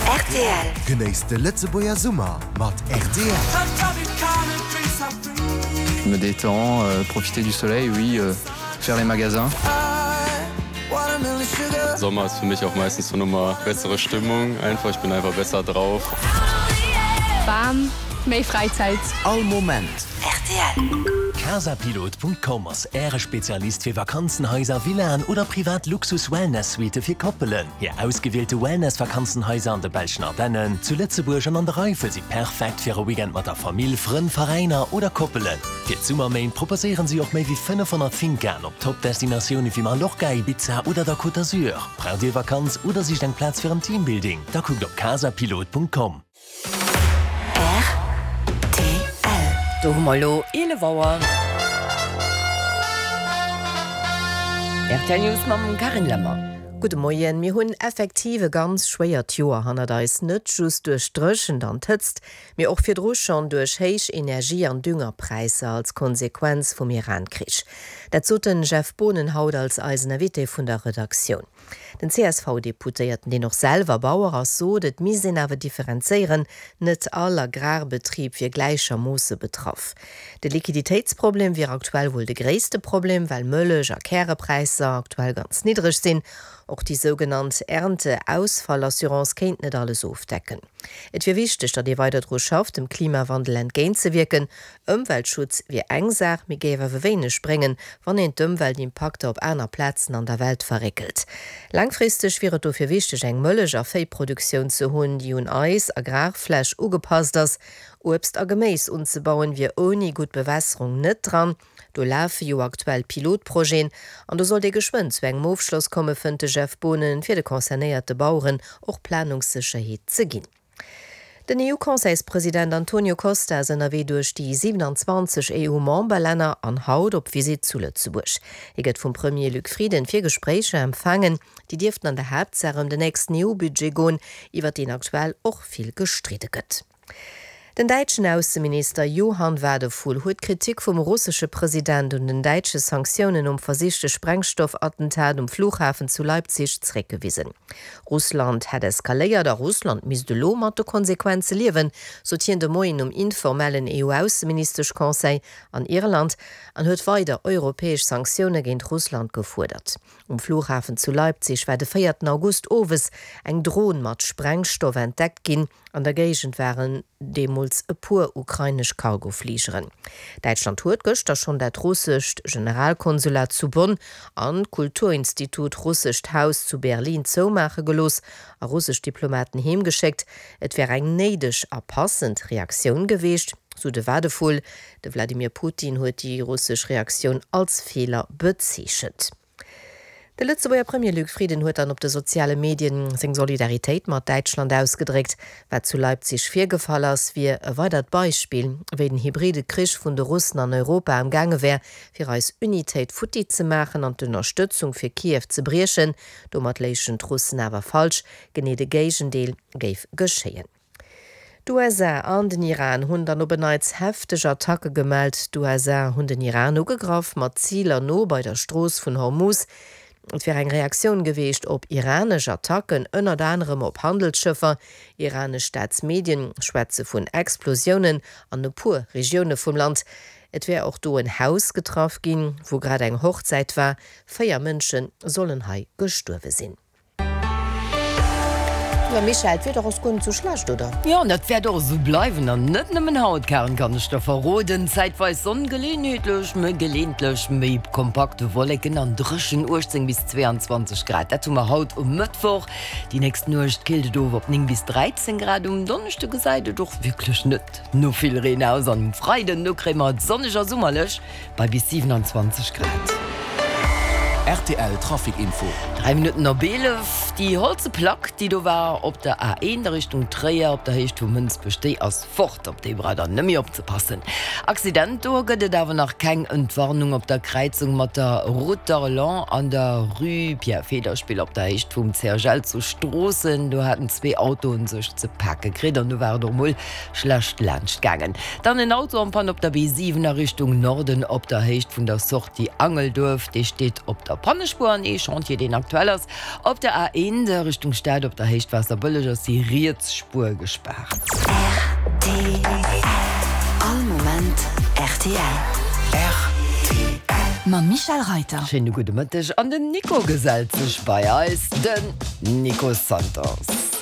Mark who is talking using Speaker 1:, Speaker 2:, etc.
Speaker 1: Rtl. Genéisst de Lëtzebuerger Summer mat rtl.
Speaker 2: Je me détends, profiter du soleil, oui, faire les magasins.
Speaker 3: Sommer ist für mich auch meistens so nochmal bessere Stimmung einfach, ich bin einfach besser drauf.
Speaker 4: Bam, méi Fräizäit.
Speaker 1: All Moment.
Speaker 4: Rtl.
Speaker 5: Casapilot.com ass Äre Spezialist fir Vakanzenhaiser, Villaen oder privat Luxus-Wellness-Suitte fir Koppelen. Hir ausgewielte Wellness-Vakanzenhaiser an de belschen Ardennen, zu Lëtzebuerg an an der Eifel si perfekt fir e Weekend mat der Famill, Frënn, Veräiner oder Koppelen. Fir d'Summerméint proposéieren si och méi wéi 500 Fincaen op Top-Destinatioune wéi Mallorca, Ibiza oder der Côte d'Azur. Braucht Dir Vakanz oder sicht eng Plaz fir en Teambuilding? Da kuckt op casapilot.com.
Speaker 6: Rtl. Do hu mer elo 11 Auer. Rtl News mam Carine Lemmer.
Speaker 7: Gudde Moien. Mir hunn effektiv e ganz schwéiert Joer hannert eis, net just duerch d'Dréchent an d'Hëtzt, mee och virdru schonn duerch héich Energie an Düngerpräisser als Konsequenz vum Iran-Krich. Dat sot den Jeff Boonen haut als eisen Invité vun der Redaktioun. Den CSV-Deputéierten, deen och selwer Bauer ass, sot, et misst een awer differenzéieren, net all Agrarbetrib wier gläichermoosse betraff. De Liquiditéitsproblem wier aktuell wuel de gréisste Problem, well Mëllech a Kärepräisser aktuell ganz niddreg sinn. Och déi sougenannt Ernteausfallassurance kéint net alles ofdecken. Et wier wichteg, datt ee weider dru schafft, dem Klimawandel entgéintzewierken. Ëmweltschutz wier eng Saach, mee géif awer wéineg bréngen, wann een d'Ëmweltimpakter op aner Plazen an der Welt verréckelt. Laangfristeg wier et dofir wichteg, eng Mëllech a Véiproduktioun ze hunn, déi un eis Agrarfläch ugepasst ass. Uebst a Geméis unzebauen wier ouni gutt Bewässerung net dran. Do lafe jo aktuell Pilotprojeten an do sollt ee geschwënn zu engem Ofschloss komme, fënnt de Jeff Boonen, fir de concernéierte Baueren och Planungssécherheet ze ginn. Den EU-Conseilspresident Antonio Costa ass ënnerwee duerch déi 27 EU-Memberlänner an haut op Visitt zu Lëtzebuerg. Hie gëtt vum Premier Luc Frieden fir Gespréicher empfaangen. Déi dierften an der Haaptsaach ëm den nächsten EU-Budget goen, iwwer deen aktuell och vill gestridde gëtt. Den däitschen Ausseminister Johann Wadephul huet d'Kritik vum russesche President un den däitsche Sanktiounen nom versichte Sprengstoffattentat um Flughafen zu Leipzig zeréckgewisen. Russland hätt eskaléiert a Russland misst elo mat de Konsequenze liewen, sot hien de Moien um informellen EU-Ausseministesch-Conseil an Irland an huet weider europäesch Sanktioune géint Russland gefuerdert. Um Flughafen zu Leipzig war de véierten August owes eng Dron mat Sprengstoff entdeckt ginn. An der Géigend waren deemools e puer ukrainesch Cargofligeren. Däitschland huet gëschter schonn dat russescht Generalkonsulat zu Bonn an d'Kulturinstitut Russescht Haus zu Berlin zoumaache gelooss a russesch Diplomaten heemgeschéckt. Et wär eng néideg a passend Reaktioun geweecht, sou de Wadephul. De Wladimir Putin huet déi russesch Reaktioun als Feeler bezeechent. De Lëtzebuerger Premier Luc Frieden huet dann op de soziale Medien seng Solidaritéit mat Däitschland ausgedréckt. Wat zu Leipzig virgefall ass, wier e weidert Beispill, wéi den hybride Krich vun de Russen an Europa am gaange wär, fir eis Unitéit futti ze maachen an d'Ënnerstëtzung fir Kiew ze briechen. Domat léichen d'Russen awer falsch, genee de Géigendeel géif geschéien. D'USA an den Iran hunn dann op en Neits hefteg Attacke gemellt. D'USA hunn den Iran ugegraff, mat Ziler no bei der Strooss vun Hormuz. Et wär eng Reaktioun geweecht op iranesch Attacken, ënnert anerem op Handelsschëffer. Iranesch Staatsmedien schwätze vun Explosiounen an e puer Regioune vum Land. Et wär och do en Haus getraff ginn, wou grad eng Hochzäit war. 4 Mënsche sollen hei gestuerwe sinn. Jo Michèle, d'Wieder ass guer net sou schlecht, oder?
Speaker 6: Jo, an dat wäert och esou bleiwen. An net nëmmen haut, Karen, kann ech der verroden. Zäitweis Sonn, geleeënheetlech, méi geleeëntlech méi kompakt Wolleken an dréchen 18 bis 22 Grad. Dat hu mer haut um Mëttwoch. Déi nächst Nuecht killt et of op 9 bis 13 Grad. Um Donneschde gesäit et och wierklech net no vill Reen aus an um Freiden, do kréie mer et sonneg a summerlech. Bei bis 27 Grad.
Speaker 1: Rtl Trafic Info.
Speaker 6: 3 Minutten op 11. Déi holze Plack, déi do war op der A1 a Richtung Tréier op der Héicht vu Mënsbech, déi ass fort. Op déi braucht der net méi opzepassen. Accident, do gëtt et awer nach keng Entwarnung op der Kräizung mat der Route d'Arlon an der Rue Pierre Federspiel op der Héicht vum CHL zu Stroossen. Do haten zwee Autoen sech ze pake kritt an do war et och mol schlecht laanscht gaangen. Dann en Auto en Panne op der B7 a Richtung Norden op der Héicht vun der Sortie Angelduerf. Dee steet op der. Pannespuer an ee Chantier, deen aktuell ass. Op der A1 a Richtung Stad op der Héicht Waasserbëlleg ass déi riets Spuer gespaart.
Speaker 4: Rtl, All Moment rtl.
Speaker 1: Rtl.
Speaker 4: Mam Michel Reiter.
Speaker 6: Schéine gudde Mëtteg an den Nico gesellt sech bei eis, den Nico Santos.